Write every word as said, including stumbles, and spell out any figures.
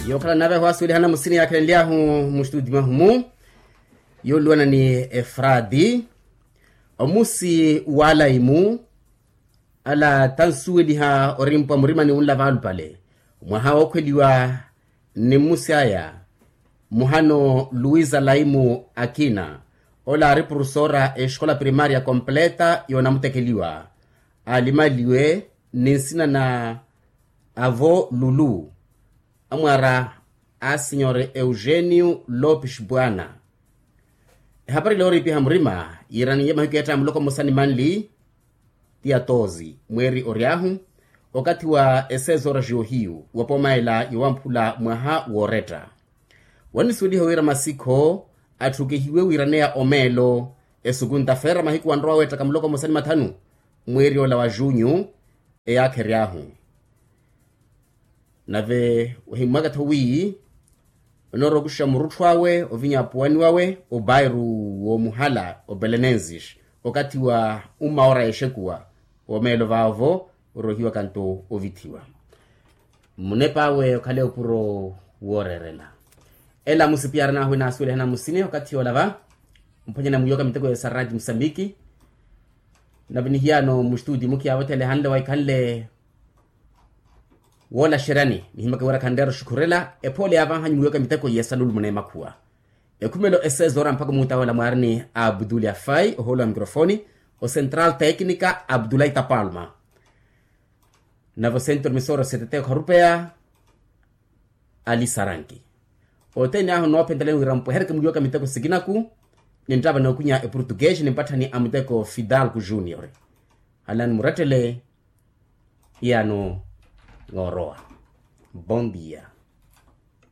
Yookhala nave ahwaasuwelihana musini yaakhelenly'ahu muxituti mwahu-mu, yooluwana ni efrati omusi w'alaimu. Ala tansuweliha orimpwa murimani wunla vaalupale mwaha wookhweliwa ni mmusi aya. Muhano luisa laimu akina ola aari purusora exikola primaria completa yoonamutekeliwa, alimaliwe ni nsina na avo lulu, amwaara a sinyore eugenio lopes bwana. Ehapari leyo oriipiha murima yiiraniye mahiku yeetta ya muloko mmosa ni manli, ti ya toozi mweeri ory'ahu okathi wa eseezo oraxiyo hiyu wa pooma ela yowamphula mwaha wooretta. Wannisuweliha wira masikho atthukehiwe wiiraneya omeelo esukunta feera mahiku wanrowa weettaka muloko mmosa ni mathanu mweeri ola wa junyu. Eyaakha ery'ahu nave wahimmwaka-tho wi onoorowa okuxa murutthu awe ovinya apuwani wawe obairu woomuhala obelenensis okathi wa ummaora yexekuwa woomeelo vaavo orohiwaka-nto ovithiwa. Munep'awe okhale opuro wooreerela. Ela musipiyaran'ahu enaasuwelihana musini okathi yoola va mphwanyana mwiiwaka miteko ya sarati musambiki. Nave nihiyaano muxituti mukhiyaavothele hanle waikhanle woolaxeryani nihimaka wira khanreera oxukhurela ephoole yaavanhanyu mwiiwaka miteko yesalulu muneemakhuwa. Ekhumelo esezoora mpakha omuuta woola mwaarini abdulafai ohoolo wa mikrofoni, ocentral tecnica abdulaita palma. Nave ocentro misoro setete okharupeya ali saranki. Othene ahu noophentelani wira mpwehereke mwiiwaka miteko sikinaku ninttava nookwinya eportuguese nimpatthani a muteko fidalgo junior. Halani murettele. Iyano noorowa. Bon dia.